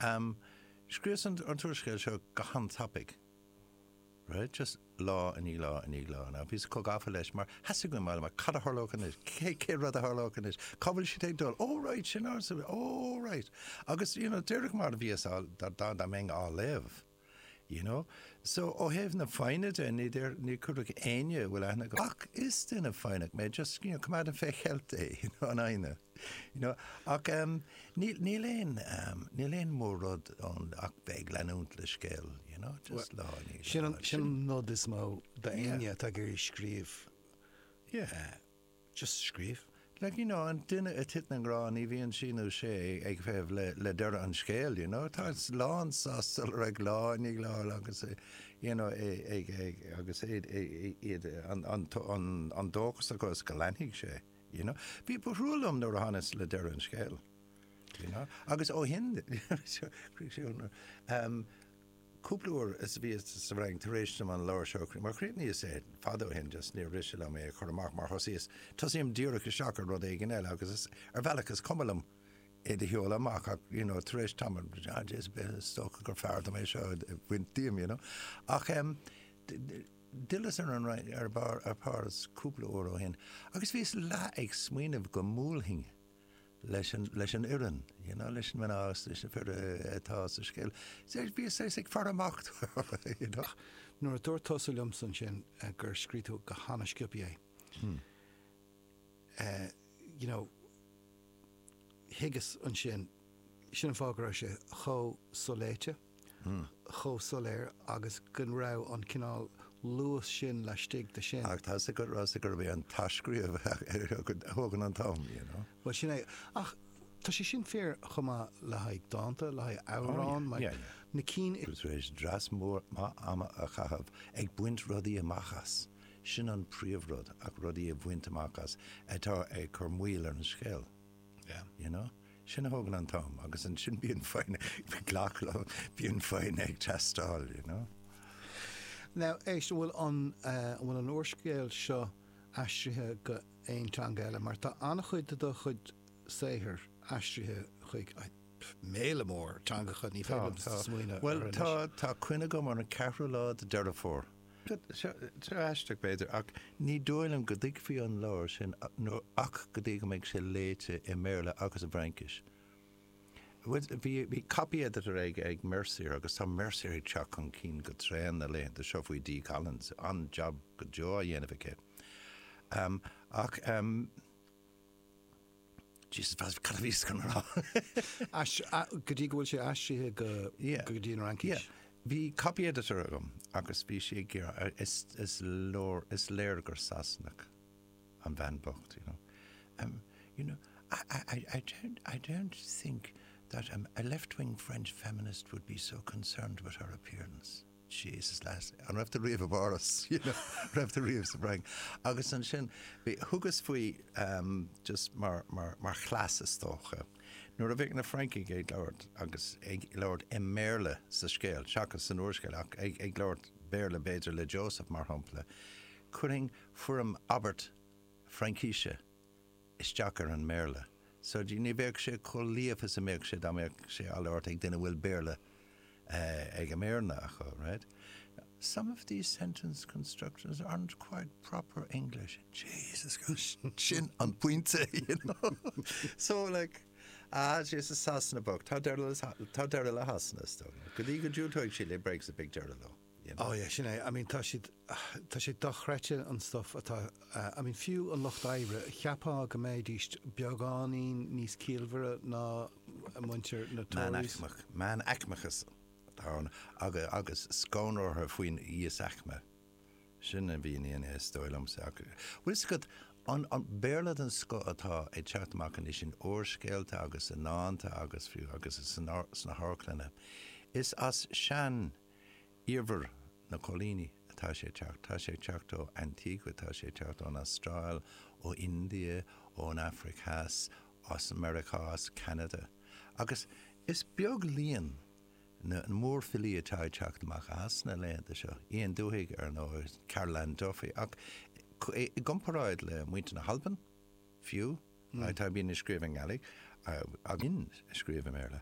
Scríobhas an t-úrscéal seo go han-tapaidh. Right? Just lá i ndiaidh lá i ndiaidh lá. Now, bhíos chomh gafa leis mar theastaigh uaim fáil amach cad a tharlódh anois, cé, cé rud a tharlódh anois, cá bhfuil siad ag dul, oh right, sin ár, oh right. Agus, you know, díreach mar a bhíos á, dá, dá, dá mbeinn á léamh. You know? So, ó thaobh na foighne de, ní deir, ní chuirfeadh éinne a bhfuil aithne agam, ach is duine foighneach mé, just, you know, coimeádaim fé cheilt é, you know, an fhoighne. You know? Ach em, níl, níl aon, em, níl aon mór-rud ann ach bheith ag leanúint le scéal, you know, just lá i ndiaidh Sin an, sin an nod is mó d'éinne atá ag iarraidh scríobh. Yeah. Eh, just scríobh. Like, you know, an duine a thiteann i ngrá, ní bhíonn sí nó sé ag feitheamh le, le deireadh an scéil, you know. Tá lán sásta dul ar aghaidh lá i ndiaidh lá agus, you know, ag, ag, agus iad, iad, an, an, an, an dóchas acu is go leanfaidh sé, you know. Bhí, ba thrua liom nuair a thánas le deireadh an scéil, you know. Agus ó shin, um, Cúpla uair is a bhíos sa bhFrainc tar éis dom an leabhar seo a mar chríochnaíos é fada ó shin, just níor mhiste liom é a chur amach mar thosaíos, tosaím díreach isteach ar rud éigin eile agus is, ar bhealach is cuma liom é do sheoladh amach ach, you know, tar éis tamaill, ah, is dócha gur fearr dom é seo a bhaint díom, you know. Ach em, d'fhilleas ar an Fhrainc, ar barr, ar Pháras cúpla uair ó shin agus bhíos leath ag smaoineamh go mbuailfinn leis an, leis an fhoireann, you know, leis na mná agus leis na fir atá sa scéal. Bhíos saghas ag faire amach dóibh, you know. Nuair a dúirt tusa liomsa ansin gur scríobh tú go han-sciobtha é, you know, thuigeas ansin, sin an fáth go raibh sé chomh soléite. chomh soiléir agus go raibh an cineál luas sin laistigh de sin. Ach tá 'fhios agat, Rossa, gurb é an t-athscríobh a thógann an t-am, you know. Bhuel, sin é. Ach tá sé sin fíor chomh maith le haghaidh dánta, le haghaidh amhrán, Oh, yeah, yeah. na cinn. Tar éis dreas mór maith ama a chaitheamh ag baint rudaí amach as, sin an príomhrud, ach rudaí a bhaint amach as atá ag cur moill ar an scéal. Yeah. You know? Sin a thógann an t-am agus ansin bíonn foighne, glac liom, bíonn foighne ag teastáil, you know? Now, éist, an bhfuil an, an bhfuil an úrscéal seo aistrithe go aon teanga eile? Mar tá an-chuid de do chuid saothair aistrithe chuig méala mór teangacha, ní féidir liom smaoineamh orthu anois. Bhuel, tá, tá coinne agam ar an ceathrú lá de Deireadh Fómhair. Seo aisteach, b'fhéidir, ach ní dóigh liom go dtuigfí an leabhar sin ach go dtí go mbeidh sé léite i mBéarla agus i bhFraincis. Bhí bhí copy editor ag ag Mercier agus tá Mercier ag teacht chun cinn go tréan na laethanta seo faoi Dee Collins, an-jab go deo á dhéanamh aici. Ach. Jesus, cad a bhíos chun a rá? Go dtí go bhfuil sé aistrithe go go dtí an Fhraincis. Yeah. Bhí copy editor agam agus bhí sí ag iarraidh, is, is leor, is léir gur Sasanach an bhean bocht, you know. Um, you know, I, I, I don't, I don't think that um, a left-wing French feminist would be so concerned with her appearance. Jesus lass, an raibh tú riamh i bPáras, you know, raibh tú riamh sa bhFrainc? Agus ansin, bhí, thugas faoi ehm just mar, mar, mar chleas is dócha, nuair a bheadh na Francaigh ag labhairt agus ag labhairt i mBéarla sa scéal, seachas san úrscéal ach ag, ag labhairt Béarla b'fhéidir le Joseph mar shampla, chuirfinn foirm abairt Fraincise isteach ar an mBéarla. So ní bheadh sé chomh líofa is a mbeadh sé dá mbeadh sé á labhairt ag duine a bhfuil Béarla ag a méireanna acu, right? Some of these sentence constructions aren't quite proper English. Jesus gosh, sin an pointe, you know? So like, ah, Jesus, Sasana bocht, tá deireadh le, tá deireadh le Shasana, is dóigh. Go dtí go ndiúltóidh siad le Brexit, beidh deireadh leo. you know. Oh yeah, sin é. I mean, tá siad, tá sé dochreidte an stuff atá, I mean, fiú an lucht oibre, cheapfá go mbeidís beagáinín níos ciallmhaire ná muintir na Tories. Meánaicmeach, meánaicmeachas atá ann agus, agus scanradh orthu faoin íosaicme. Sin a mhíníonn é, is dóigh liomsa. Ach, bhfuil fhios agat, an, an Béarla den scoth atá ag teacht amach anois in úrscéalta agus i ndánta agus fiú agus sna hamharclanna, is as sean, Iarmhar na coilíní atá sé ag teacht. Tá sé ag teacht ó Antigua, tá sé ag teacht ón Astráil, ó India, ón Afraic Theas, as Meiriceá, as Ceanada. Agus is beag líon na mórfhilí atá ag teacht amach as na laethanta seo, Ian Duhig, ar ndóigh, Carol Ann Duffy, ach i gcomparáid le muintir na hAlban, fiú, atá bíonn ag scríobh i nGaidhlig, agus ag scríobh i mBéarla.